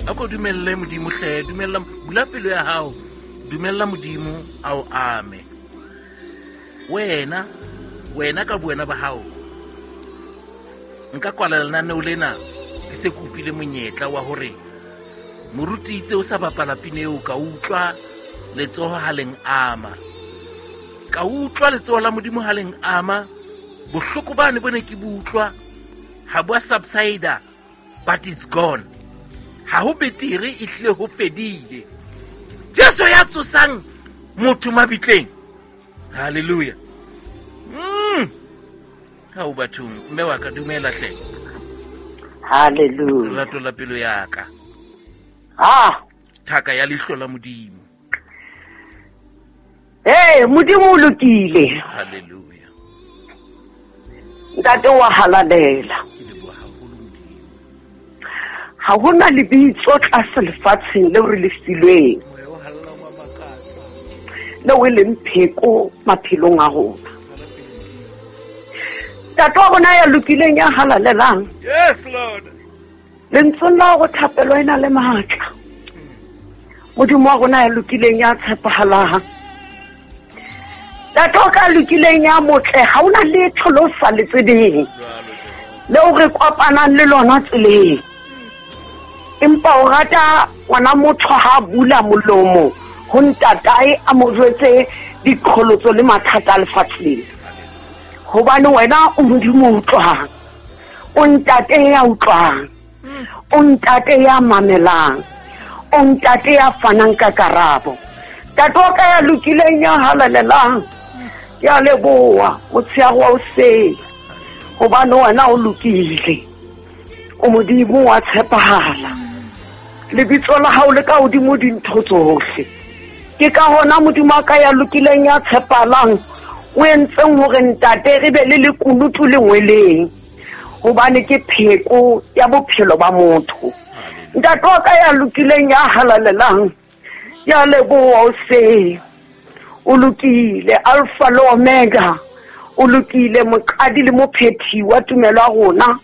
A ko dumelle Modimo hle, dumella, bula pelo ya hao, dumella Modimo a o ame. Wena, wena ka buena ba hao, nka kwala lenaneo lena ke se ke o file monyetla wa hore moruti itse o sa bapala pina eo, ka utlwa letsoho ha leng ama, ka utlwa letsoho la Modimo ha leng ama. Bohloko bane bo ne ke bo utlwa ha bo a subsida, but it's gone. Ha ho betere, e hlile ho fedile. Jesu ya tsosang motho mabitleng. Hallelujah. Ha o bathong, mme wa ka, dumela hle. Hallelujah. Lerato la pelo ya ka. Ah. Thaka ya leihlo la Modimo. Hey, Modimo o lokile. Hallelujah. Ntate wa halalela. Ke leboha haholo Modimo. Ha hona lebitso tlase lefatsheng leo re le filweng. Moya o hallang wa makatsa. Leo e leng pheko maphelong a rona. Ntate wa rona ya lokileng, ya halalelang. Yes, Lord. Lentsweng la hore thapelo e na le matla. Modimo wa rona ya lokileng, ya tshepahalang. Ntate o ka lokileng, ya motle, ha ona letho le o sa le tsebeng, leo re kopanang le lona tseleng. Empa o rata ngwana motho ha bula molomo ho ntatae a mo jwetse diqholotso le mathata a lefatshe lena. Hobane wena o Modimo o utlwang, o ntate ya utlwang, o ntate ya mamelang, o ntate ya fanang ka karabo. Ntate wa ka ya lokileng, ya halalelang, ke a leboha motshehare wa hoseng, hobane wena o lokile, o Modimo wa tshepahala. Lebitso la hao le ka hodimo dintho tsohle. Ke ka hona Modimo wa ka ya lokileng, ya tshepahalang, o entseng hore ntate re be le lekunutu lengweleng, hobane ke pheko ya bophelo ba motho. Ntate wa ka ya lokileng, ya halalelang, ya leboha hoseng. O lokile, Alpha le Omega. O lokile, moqadi le mophethi wa tumelo ya rona.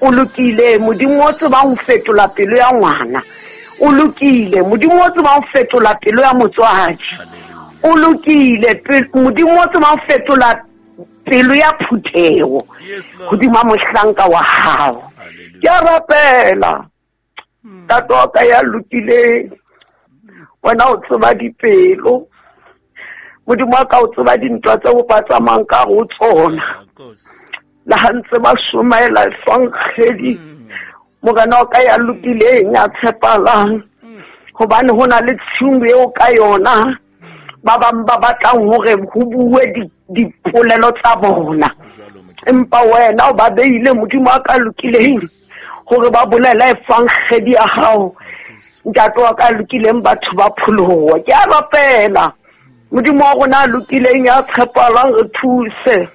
O lokile, Modimo o tsebang ho fetola pelo ya ngwana. O lokile, Modimo o tsebang ho fetola pelo ya motswadi. O lokile, Modimo o tsebang ho fetola pelo ya phutheho hodima mohlanka wa hao. Ke a rapela, ntate wa ka ya lokileng, wena o tseba dipelo. Modimo wa ka o tseba dintwa tseo ba tsamayang ka ho tsona. Le ha ntse ba somaela efankgedi, Morena wa ka ya lokileng, ya tshepahalang, hobane ho na le tshiu eo ka yona ba bang ba batlang hore ho bue dipolelo tsa bona, empa wena o ba beile, Modimo wa ka lokileng, hore ba bolele efankgedi ya hao. Ntate wa ka lokileng, batho ba pholoha. Ke a rapela, Modimo wa rona a lokileng, ya tshepahalang, re thuse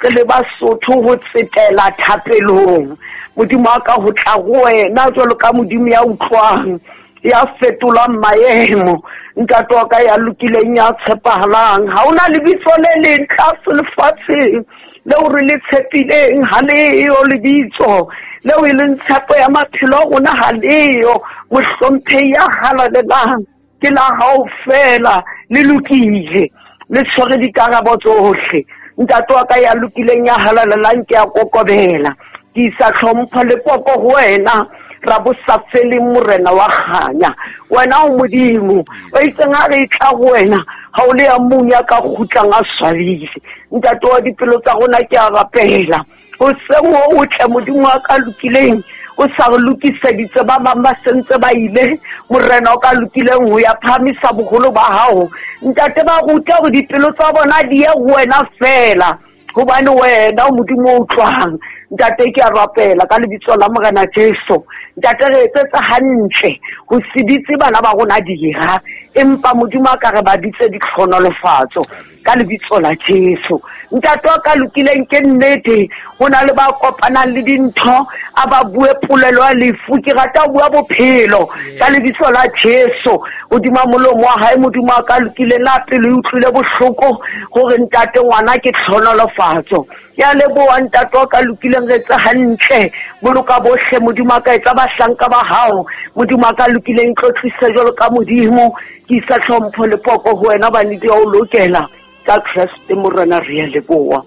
re le Basotho ho tsetela thapelong. Modimo wa ka, ho tla ho wena jwalo ka Modimo ya utlwang, ya fetolang maemo. Ntate wa ka ya lokileng, ya tshepahalang, ha ona lebitso le leng tlase lefatsheng leo re le tshepileng, ha leyo lebitso leo e leng tshepo ya maphelo a rona, ha leyo. Mohlomphehi ya halalelang, ke la hao fela, le lokile, le tshwere dikarabo tsohle. Ntate wa ka ya lokileng, ya halalelang, ke a kokobela, ke isa tlhompho le poko ho wena, ra bo sa feleng, Morena wa kganya. Wena o Modimo o itseng ha re tla ho wena, ha o le ya mong ya ka kgutlang a swabile. Ntate wa dipelo tsa rona, ke a rapela hoseng ho o tle, Modimo wa ka lokileng, o sa re lokiseditse ba bang ba sentse ba ile, Morena o ka lokileng, ho ya phahamisa boholo ba hao. Ntate, ba rute hore dipelo tsa bona di ye ho wena fela, hobane wena o Modimo o utlwang. Ntate, ke a rapela ka lebitso la Morena Jesu. Ntate, re etsetsa hantle ho se bitse bana ba rona dira, empa Modimo a ka re ba bitse ditlhonolofatso. Ka lebitso la Jesu. Ntate wa ka lokileng ke nnete, ho na le ba kopanang le dintho, a ba bue polelo ya lefu, ke rata ho bua bophelo ka lebitso la Jesu. Hodima molomo wa hae, Modimo wa ka lokileng, la pelo e utlwile bohloko hore ntate ngwana ke tlhonolofatso. Ke a leboha ntate wa ka lokileng, re etse hantle, boloka bohle Modimo wa ka, etsa bahlanka ba hao Modimo wa ka lokileng, tlotlise jwalo ka Modimo. Ke isa tlhompho le poko ho wena, hobane di a o lokela. Ka Kreste Morena re a leboha.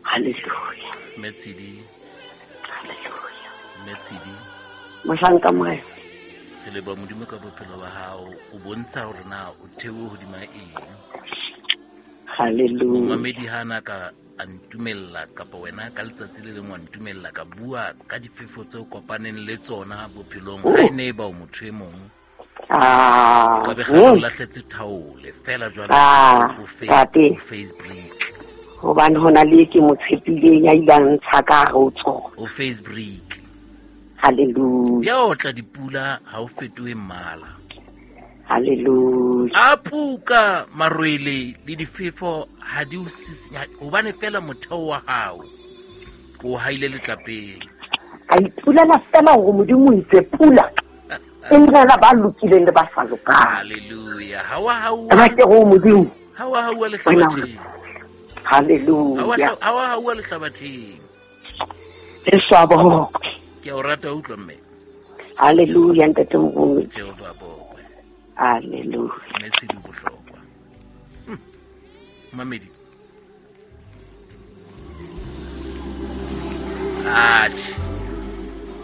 Hallelujah. Metshidi. Hallelujah. Metshidi. Mohlanka Morena. Re leboha Modimo ka bophelo ba hao, o bontsha hore na o thewe hodima eng. Hallelujah. Momamedi ha na ka a ntumella kapa wena ka letsatsi le leng wa ntumella ka bua ka difefo tse o kopaneng le tsona bophelong, ha e ne e ba o motho e mong. Ka be kgale o lahletse thaole fela jwale o face break. Hobane hona le ke mo tshepileng ya ile a ntsha ka hare ho tsona. O face break. Hallelujah. Ya otla dipula ha o fetohe mmala. Hallelujah. A puka marwele le difefo ha di o sisinya, hobane fela motheo wa hao o haile letlapeng. Ka ipulela fela hore Modimo o itse pula e nela ba lokileng le ba sa lokang. Hallelujah. Ha wa hauwa. Ba ke go Modimo. Ha wa hauwa lehlabatheng. Hallelujah. Ha wa hauwa lehlabatheng. Jesu a bokwe. Ke a o rata utlwa mme. Hallelujah ntate Modimo. Jehova a bokwe. Hallelujah. Metsi di bohlokwa. Mamedi. Atjhe.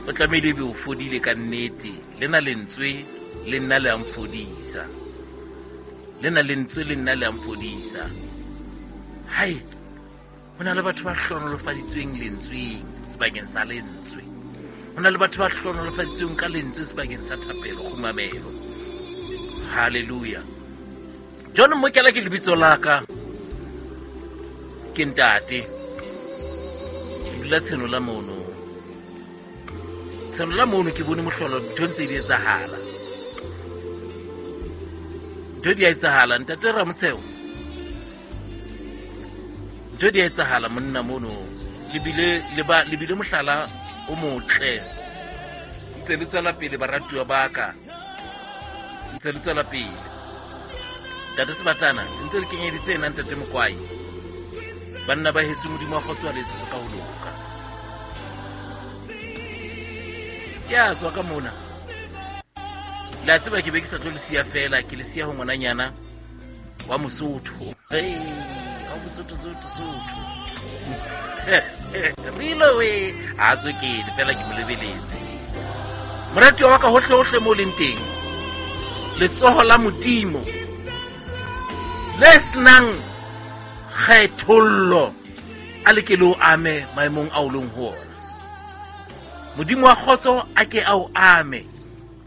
O tlamehile ebe o fodile ka nnete. Lena lentswe le nna le a mfodisa. Lena lentswe le nna le a mfodisa. Hai, ho na le batho ba hlohonolofaditsweng lentsweng sebakeng sa lentswe. Ho na le batho ba hlohonolofaditsweng ka lentswe sebakeng sa thapelo, kgumamelo. Hallelujah. John Mokela ke lebitso la ka. Ke ntate. Ke dula Tshenola mono. Tshenola mono ke bone mohlolo, ntho ntse di etsahala. Ntho di a etsahala, ntate Ramotsheo. Ntho di a etsahala monna mono. Le bile mohlala o motle. Ntse le tswela pele baratuwa ba ka. Ntse le tswela pele. Ntate Sebatana, ntse le kenyeditse ena ntate Mokwai. Banna ba heso Modimo wa kgotso a le etsetse ka ho loka. Ke a tswa ka mona. Le a tseba ke be ke sa tlo le siya fela, ke le siya ho ngwananyana wa Mosotho. Hey, wa Mosotho, Sotho, Sotho. Rilo we, ha so ke fela ke mo lebeletse. Moratuwa wa ka hohle hohle mo leng teng. Letsoho la Modimo le senang kgethollo a le ke le o ame maemong a o leng ho ona. Modimo wa kgotso a ke a o ame,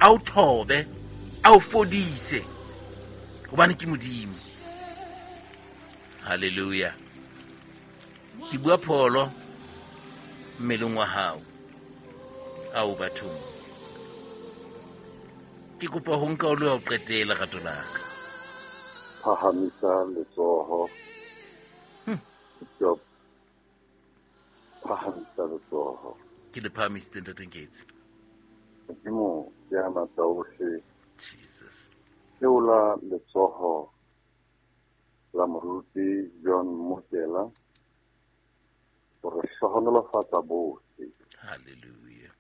a o thobe, a o fodise, hobane ke Modimo. Hallelujah. Ke bua pholo mmeleng wa hao ao bathong. Ke kopa ho nka o le wa ho qetela rato la ka. Phahamisa letsoho. Phahamisa letsoho. Ke le phahamisitse ntate Nketsi. Modimo ya matla ohle. Jesus. Theola letsoho la moruti John Mokela hore hlohonolofatsa bohle. Hallelujah.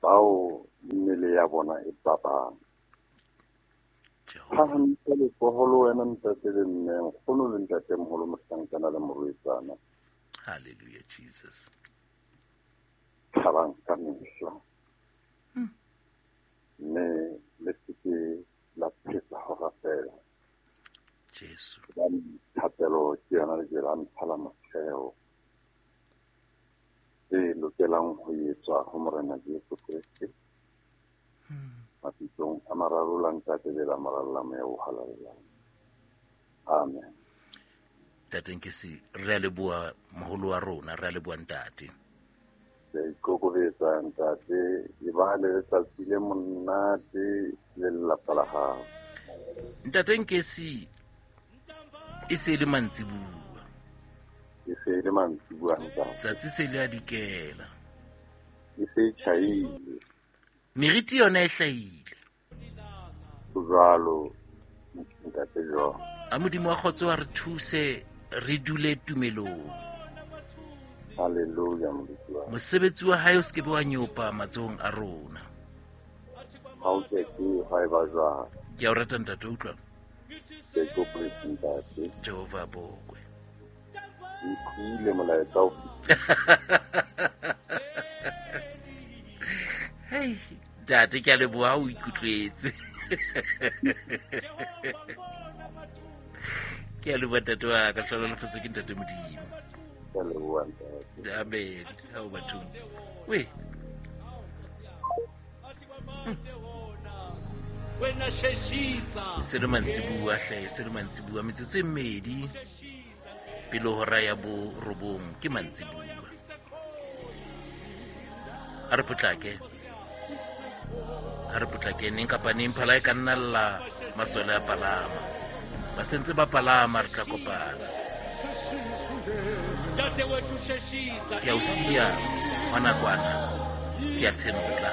Bao mmele ya bona e babang. Phahamisa letsoho le wena ntate le mme, nkgono le ntate moholo, mohlankana le morwetsana. Hallelujah, Jesus. Thabang ka mehla. Mme le seke la phetsa ho rapela. Jesu. Thapelo ke yona lejwe la ntlha la motheo e lokelang ho etswa ho Morena Jesu Kreste. Mabitsong a mararo la Ntate le la Mora le la Moya o Halalelang. Amen. Ntate Nkesi, re a leboha moholo wa rona, re a leboha ntate. Ke a ikokobetsa ntate, e ba le letsatsi le monate le lelapa la hao. Ntate Nkesi, E se e le mantsibua. E se e le mantsibua ntate. Tsatsi se le a dikela. E se e tjhaile. Meriti yona e hlahile. Ho jwalo ntate John. A Modimo wa kgotso a re thuse re dule tumelong. Hallelujah moruti wa. Mosebetsi wa hae o se ke be wa nyopa matsohong a rona. Ha o ke ke ha e ba jwang. Ke a o rata ntate, utlwa. Ke kopo ntate. Jehova a bokwe. Utlwile molaetsa o. Hei, ntate ke a leboha o ikutlwetse. Ke a leboha ntate wa ka, hlolo lefatshe ke ntate Modimo. Ke a leboha ntate. Amen. Ha o bathong. We. Se le mantsibua hle, se le mantsibua metsotso e mmedi pele hora ya borobong ke mantsibua. A re potlake. A re potlake neng kapa neng phala e ka nna lla masole a palama. Ba sentse ba palama re tla kopana. Ke a o siya hona kwana. Ke a tshenola.